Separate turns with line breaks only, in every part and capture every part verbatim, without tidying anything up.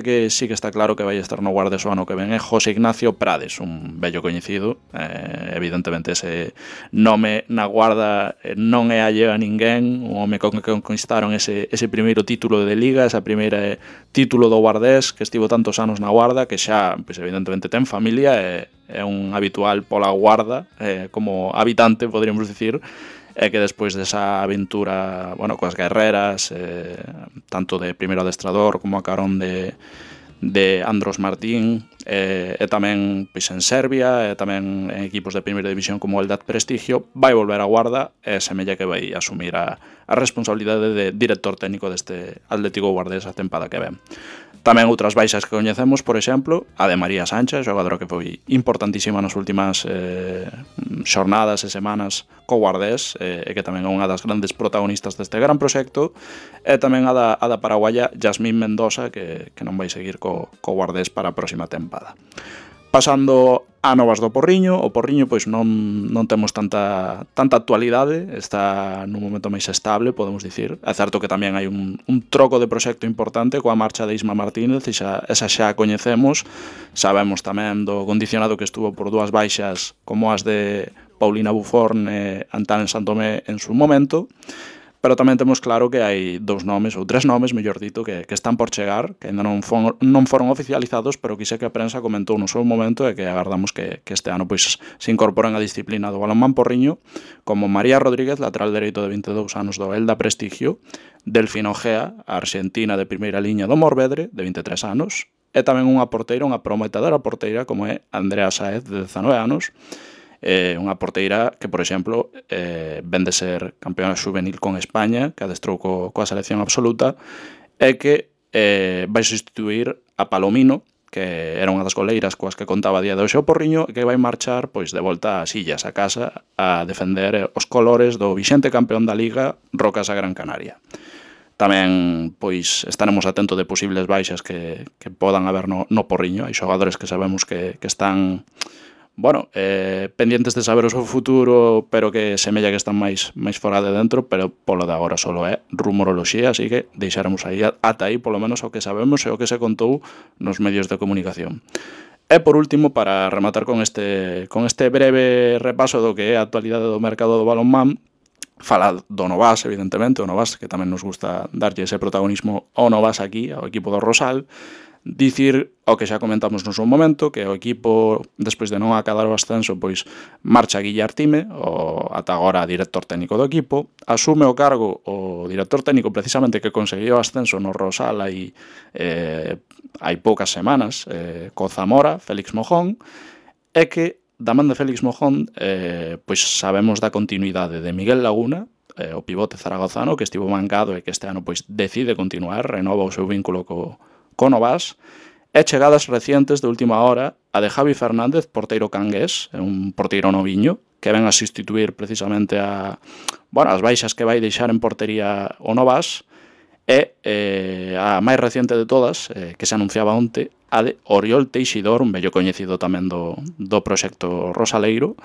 que sí que está claro que vai estar no Guardés o ano que ven é José Ignacio Prades, un vello coñecido. Eh, evidentemente ese nome na Guarda non é alleo a ninguén, un home con que conquistaron ese, ese primeiro título de Liga, esa primeira título do Guardés, que estivo tantos anos na Guarda, que xa, pois, evidentemente ten familia, é, é un habitual pola Guarda, eh, como habitante, podríamos dicir, e que despois desa aventura, bueno, coas guerreras, eh, tanto de primeiro adestrador como a carón de, de Andros Martín, eh, e tamén pois, en Serbia, e tamén en equipos de primeira división como el Eldad Prestigio, vai volver a Guarda e semella que vai asumir a, a responsabilidade de director técnico deste Atlético Guardés a tempada que ven. Tamén outras baixas que coñecemos, por exemplo, a de María Sánchez, xogadora que foi importantísima nas últimas eh, xornadas e semanas co Guardés, eh, e que tamén é unha das grandes protagonistas deste gran proxecto, e tamén a da, a da paraguaya Yasmín Mendoza, que, que non vai seguir co, co Guardés para a próxima tempada. Pasando a novas do Porriño, o Porriño pois non, non temos tanta, tanta actualidade, está nun momento máis estable, podemos dicir. É certo que tamén hai un, un troco de proxecto importante coa marcha de Isma Martínez, e xa, esa xa a coñecemos. Sabemos tamén do condicionado que estuvo por dúas baixas como as de Paulina Buforn e Antán Santomé en su momento. Pero tamén temos claro que hai dous nomes, ou tres nomes, mellor dito, que, que están por chegar, que ainda non, fon, non foron oficializados, pero que sei que a prensa comentou no seu momento e que agardamos que, que este ano pois, se incorporen a disciplina do balonmán porriño, como María Rodríguez, lateral dereito de vinte e dous anos do Elda Prestigio, Delfino Gea, a arxentina de primeira liña do Morvedre, de vinte e tres anos, e tamén unha porteira, unha prometedora porteira, como é Andrea Saez, de dezanove anos, eh, unha porteira que, por exemplo, eh, ven de ser campeona juvenil con España, que adestrou co, coa selección absoluta, e que eh, vai sustituir a Palomino, que era unha das goleiras coas que contaba a día de hoxe o Porriño, e que vai marchar pois de volta ás illas, a casa, a defender os colores do vixente campeón da Liga, Rocas a Gran Canaria. Tamén pois estaremos atentos de posibles baixas que, que podan haber no, no Porriño. Hai xogadores que sabemos que, que están... bueno, eh, pendientes de saber o seu futuro, pero que semella que están máis máis fora de dentro, pero polo de agora solo é rumoroloxía, así que deixaremos aí ata aí polo menos o que sabemos e o que se contou nos medios de comunicación. E por último, para rematar con este con este breve repaso do que é a actualidade do mercado do balonmán, fala do Novas, evidentemente, o Novas, que tamén nos gusta darlle ese protagonismo ao Novas aquí, ao equipo do Rosal. Dicir o que xa comentamos no seu momento, que o equipo, despois de non acadar o ascenso, pois marcha Guille Artime, o ata agora director técnico do equipo, asume o cargo o director técnico precisamente que conseguiu o ascenso no Rosal hai, eh, hai poucas semanas, eh, co Zamora, Félix Mojón, e que da man de Félix Mojón eh, pois sabemos da continuidade de Miguel Laguna, eh, o pivote zaragozano, que estivo mancado e que este ano pois decide continuar, renova o seu vínculo co co Novas, e chegadas recientes de última hora a de Javi Fernández, porteiro cangués, un porteiro noviño, que ven a sustituir precisamente a, bueno, as baixas que vai deixar en portería o Novas, e eh, a máis reciente de todas, eh, que se anunciaba onte, a de Oriol Teixidor, un vello coñecido tamén do, do proxecto Rosaleiro,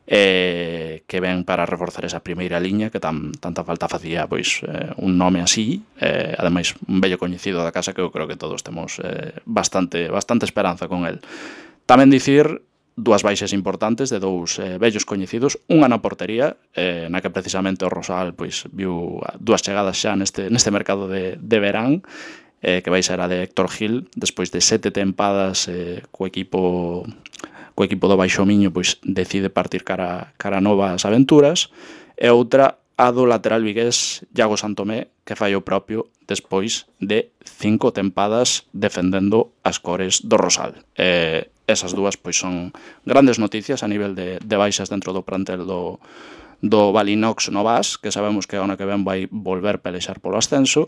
eh, que ven para reforzar esa primeira liña que tan, tanta falta facía pois eh, un nome así, eh, ademais un vello coñecido da casa que eu creo que todos temos eh, bastante, bastante esperanza con el. Tamén dicir dúas baixas importantes de dous eh, vellos coñecidos, unha na portería, eh, na que precisamente o Rosal pois viu dúas chegadas xa neste, neste mercado de, de verán, eh, que vai ser a de Héctor Gil, despois de sete tempadas eh, co equipo co equipo do Baixo Miño pois decide partir cara, cara novas aventuras, e outra a do lateral vigués Iago Santomé, que fai o propio despois de cinco tempadas defendendo as cores do Rosal. Eh, esas dúas pois son grandes noticias a nivel de, de baixas dentro do plantel do, do Valinox Novas, que sabemos que a ano que ven vai volver pelexar polo ascenso,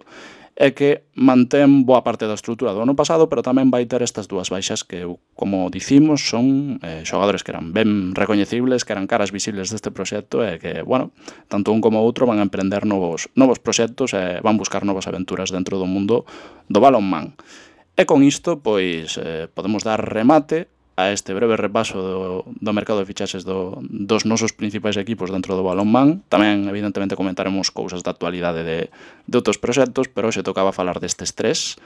e que mantén boa parte da estrutura do ano pasado, pero tamén vai ter estas dúas baixas que, como dicimos, son eh, xogadores que eran ben recoñecibles, que eran caras visibles deste proxecto e que, bueno, tanto un como outro van a emprender novos, novos proxectos e van buscar novas aventuras dentro do mundo do balonmán. E con isto, pois, eh, podemos dar remate a este breve repaso do, do mercado de fichaxes do, dos nosos principais equipos dentro do balonmán. Tamén, evidentemente, comentaremos cousas da actualidade de, de outros proxectos, pero hoxe tocaba falar destes tres.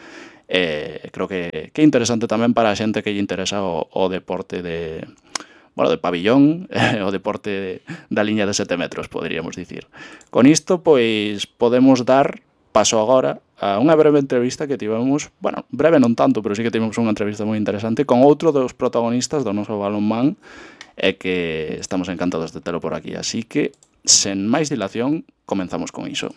Eh, creo que, que é interesante tamén para a xente que lle interesa o, o deporte de... bueno, de pabillón, eh, o deporte da liña de sete metros, poderíamos dicir. Con isto, pois, podemos dar paso agora a unha breve entrevista que tivemos, bueno, breve non tanto, pero sí que tivemos unha entrevista moi interesante con outro dos protagonistas do noso balonmán e que estamos encantados de telo por aquí. Así que, sen máis dilación, comenzamos con iso.